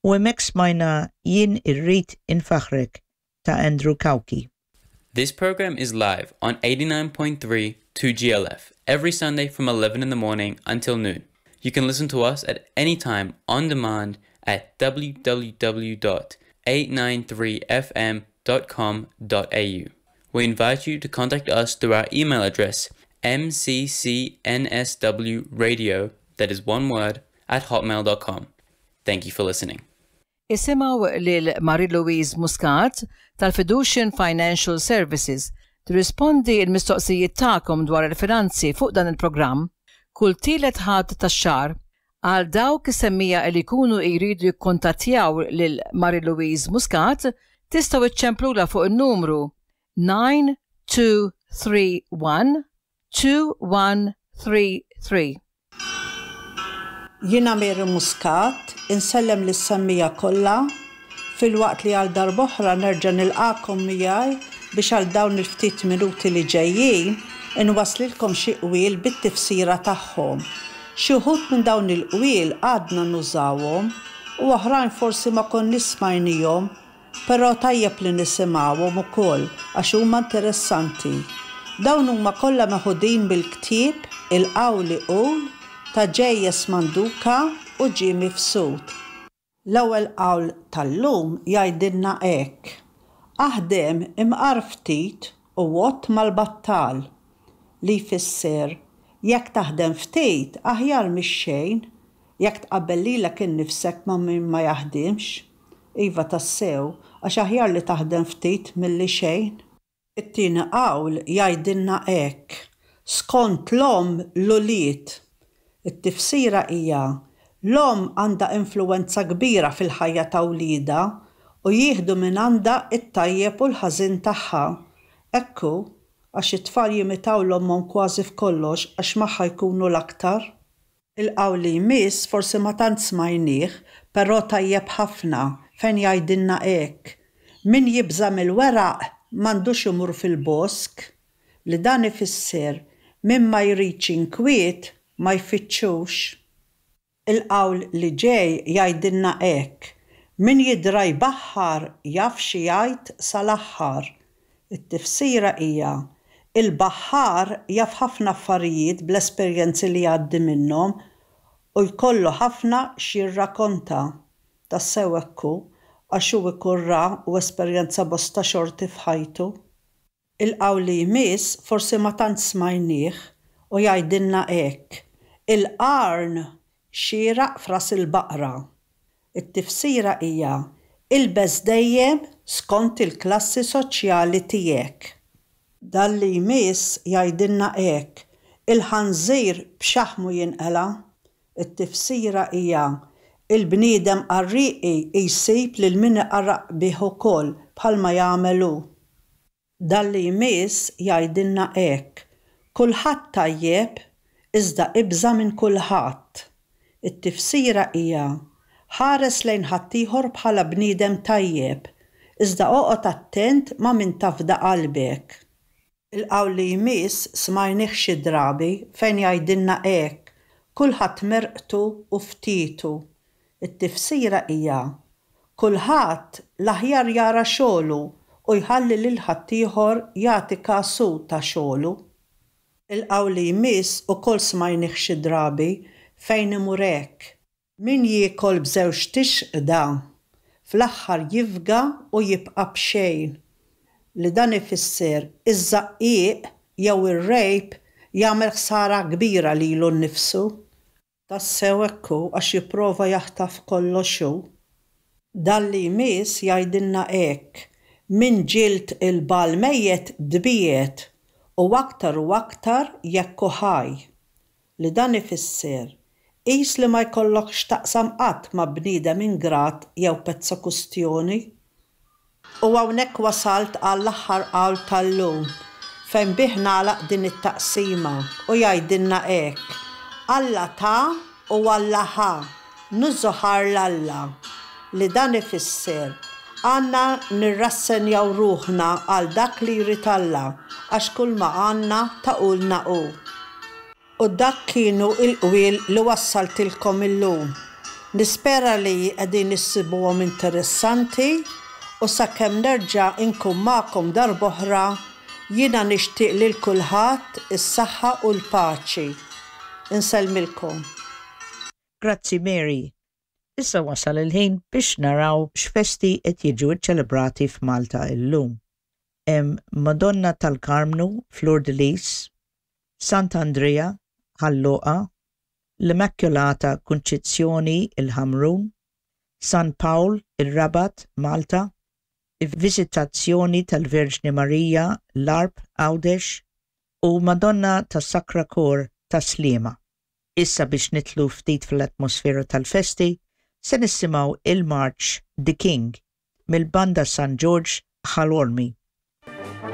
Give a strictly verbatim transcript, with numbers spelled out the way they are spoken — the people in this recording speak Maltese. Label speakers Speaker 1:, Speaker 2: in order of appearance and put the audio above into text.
Speaker 1: U hemmhekk smajna Jien Irrid Infaħħrek ta' Andrew Cauchi.
Speaker 2: This program is live on eighty-nine point three two G L F every Sunday from eleven in the morning until noon. You can listen to us at any time on demand at w w w dot eight nine three f m dot com dot a u. We invite you to contact us through our email address m c c n s w radio, that is one word, at hotmail dot com. Thank you for listening.
Speaker 3: Isimgħu lil Marie-Louise Muscat tal-Fiducian Financial Services tirrispondi il-mistoqsijiet tagħkom dwar il-finanzi fuq dan il-programm kull tielet Ħadd tax-xahar. Għal dawk is-semmiegħa li jkunu jridu jikkontattjaw lil Marie-Louise Muscat, tistgħu iċċemplula fuq il-numru nine two three one two one three three.
Speaker 4: Jiena Mary Muscat, insellem lis-semmiegħa kollha, filwaqt li għal darb'oħra nerġa' nilqakom miegħi biex għal dawn il-ftit minuti li ġejjin inwaslilkom xi qwiel bit-tifsira tagħhom. Xi wħud minn dawn il-qwiel għadna nużawhom u oħrajn forsi ma konniex smajnihom, però tajjeb li nisimgħuhom ukoll għax huma interessanti. Dawn huma kollha meħudin bil-ktieb Il-Qawli Qul ta' J S. Manduka u Jimmy Mifsud. L-ewwel qawl tal-lum jgħidilna hekk: Aħdem imqar ftit u għodd mal-battal, li jfisser jekk taħdem ftit aħjar mix-xejn jekk tqabbel lilek innifsek ma' min ma jaħdimx. Iva tassew, għax aħjar li taħdem ftit milli xejn. It-tieni qawl jgħidilna hekk: Skont l-omm l-ulied. It-tifsira hija l-omm għandha influwenza kbira fil-ħajja ta' wliedha u jieħdu minn għandha it-tajjeb u l-ħażin tagħha. Ekku, għax it-tfal jimitaw l-ommhom kważi f'kollox għax magħha jkunu l-aktar. Il-qawl li jmiss forsi ma tant smajnieh, però tajjeb ħafna, fejn jgħidilna hekk: Min jibża mill-weraq m'għandux imur fil-bosk, li dan ifisser min ma jridx inkwiet ma jfittxux. Il-qawl li ġej jgħidilna hekk: Min jidra jbaħħar jaf xi jgħid sal-aħħar. It-tifsira hija il-baħħar jaf ħafna affarijiet bl-esperjenzi li jgħaddi minnhom u jkollu ħafna x'jirrakonta. Tassew ekku, għax hu ikun ra u esperjenza bosta xorti f'ħajtu. Il-qawl li jmiss forsi ma tant smajnieh u jgħidilna hekk: Il-qarn xieraq f'ras il-baqra. It-tifsira hija ilbes dejjem skont il-klassi soċjali tiegħek. Dan li jmiss jgħidilna hekk: Il-ħanżir b'xaħmu jinqela'. It-tifsira hija il-bniedem qarriqi jsib lil min iqarraq bih ukoll bħalma jagħmel hu. Dan li jmiss jgħidilna hekk: Kulħadd tajjeb iżda ibża' minn kulħadd. It-tifsira hija ħares lejn ħaddieħor bħala bniedem tajjeb, iżda oqgħod attent ma' min tafda qalbek. Il-qawl li jmiss smajnih xi drabi, fejn jgħidilna hekk: Kulħadd merqtu u ftitu. It-tifsira hija kulħadd l-aħjar jara xogħlu u jħalli lil ħaddieħor jagħti kasu ta' xogħlu. Il-qawl li jmiss ukoll smajnih xi drabi, fejn imur hekk: Min jiekol b'żewġt ixqda fl-aħħar jifga u jibqa' b'xejn. Li dan ifisser iż-żaqqieq jew ir-rejb jagħmel ħsara kbira lilu nnifsu. Tassew ekku, għax jipprova jaħtaf kollox hu. Dan li jmiss jgħidilna hekk: Min ġild il-bagħal mejjet tbiegħed, u aktar u aktar jekk hu ħaj. Li dan ifisser qis li ma jkollokx taqsam qatt ma' bniedem ingrat jew pezza kustjoni. U hawnhekk wasalt għall-aħħar qawl tal-lum, fejn bih nagħlaq din it-taqsima, u jgħidilna hekk: Alla ta u Alla ħa, niżżu ħajr 'l Alla. Li dan ifisser għandna nirrassenjaw ruħna għal dak li jrid Alla, għax kull ma għandna tahulna hu. U dak kienu il-qwiel li wassaltilkom illum. Nispera li qegħdin issibuhom interessanti u sakemm nerġa' inkun magħkom darb'oħra, jiena nixtieq lil kulħadd is-saħħa u l-paċi. Insellmilkom.
Speaker 1: Grazzi, Mary. Issa wasal il-ħin biex naraw x'festi qed jiġu ċċelebrati f'Malta illum. Hemm Madonna tal-Karmnu, Fleur de Lis, Sant'Andrea, Ħal Luqa, l-Immaculata Kunċizzjoni, il-Ħamrun, San Pawl, il-Rabat, Malta, Viżitazzjoni tal-Verġni Marija, l-Għarb, Għawdex, u Madonna tas Sacra Cor ta' Sliema. Issa biex nidħlu ftit fl-atmosfera tal-festi, se nisimgħu il-March The King mill-Banda San George Ħal Qormi.